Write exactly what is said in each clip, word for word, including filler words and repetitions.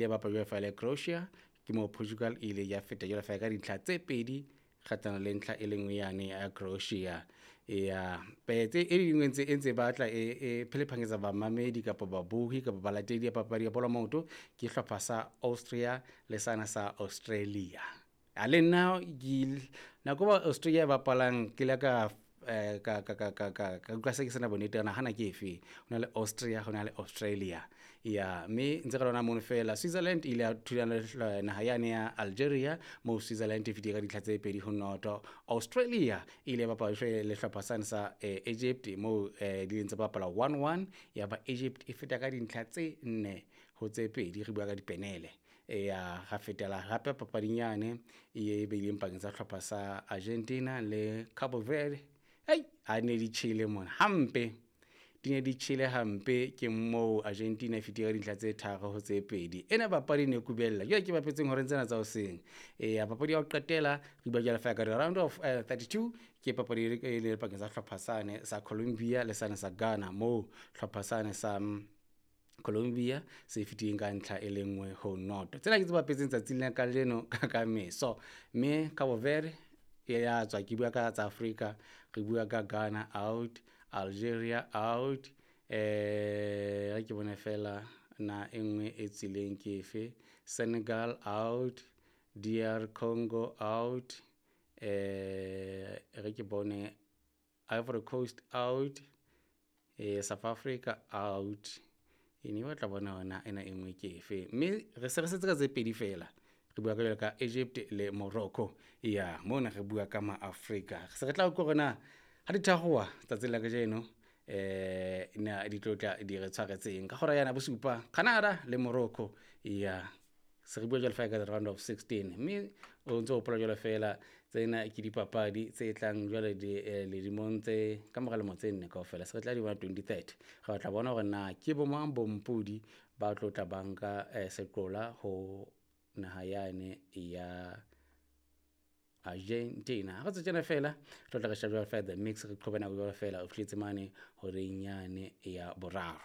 ile ya bapala jwalo feela le Croatia, ke moo Portugal e ile ya feta jwalo feela ka dintlha tse pedi kgahlano le ntlha e le nngwe yane ya Croatia. Ya tse e dingwe ntse e ntse batla e e phelephanyetsa bamamedi kapa babohi kapa balatedi ya papadi ya bolo ya maoto ke hlopha sa Austria le sana sa Australia. A le nna ke nako ba Australia bapalang ke ile ka eh, ka ka ka ka ka ka utlwa se ke sena bonnete na hana ke efe. Ho na le Austria, ho na le Australia. Ya mme ntse re lona mono fela Switzerland e ile ya thulana le naha yane ya Algeria, moo Switzerland e fetile ka dintlha tse pedi ho noto. Australia e ile ya bapala le hlopha sane sa eh, Egypt moo eh, di ntse bapala one one, ya ba Egypt e feta ka dintlha tse nne ho tse pedi, re bua ka dipenele. Ya ra fetela hape papading yane e beileng pakeng tsa hlopha sa Argentina le Cabo Verde. Ei, a ne di tjhele mona hampe, di ne di tjhele hampe. Ke moo Argentina e fetile ka dintlha tse tharo ho tse pedi. Ena papadi ne kubella jwale ke bapetseng horeng tsena tsa hoseng. Eya papadi ya ho qetela re bua jwale feela ka round of uh, thirty-two, ke papadi e le pakeng tsa hlopha sane sa Colombia le sane sa Ghana, moo hlopha sane sa Colombia se fetileng ka ntlha e le nngwe ho noto. Tsena ke tse bapetseng tsatsing la kajeno ka ka meso. Mme Cabo Verde e ya tswa, ke bua ka tsa Afrika, re bua ka Ghana out, Algeria out, eh re ke bone fela na e nngwe e tswileng ke efe, Senegal out, D R Congo out, eh re ke bone Ivory Coast out, eh South Africa out. E ne batla bona hona ena e nngwe ke efe. Mme re se re setse ka tse pedi fela. Re bua ka jwalo ka Egypt le Morocco. Ya mona re bua ka ma Afrika. Se re tla utlwa hore na ha di tharoha tsatsing la kajeno eh na di tlotla di re tshwaretseng ka hora yana bosupa Canada le Morocco. Ya se re bua jwalo feela ka round of sixteen, mme o ntso hopola jwalo feela tsena ke dipapadi tse tlang jwale di ledimong tse ka mora lemo tse nne kaofela. Se re tla di bona twenty thirty, re tla bona hore na ke bo mang bompodi ba tlo tla banka seqola ho naha yane ya Argentina. Ha re tswe tjena fela re tla re sheba jwalo feela the mix, re qhobe nako jwalo fela o fihletse mane horeng yane ya boraro.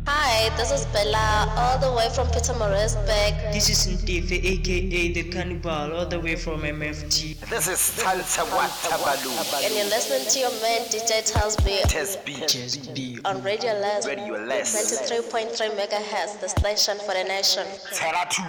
Hi, this is Bella, all the way from Pietermaritzburg. This is Ntefe, aka The Cannibal, all the way from M F T. This is Talsa Watabalu. And you're listening to your man, D J Tasby. Tasby. Tasby. On Radio Less. Radio Less. ninety-three point three megahertz, the station for the nation. Terra two.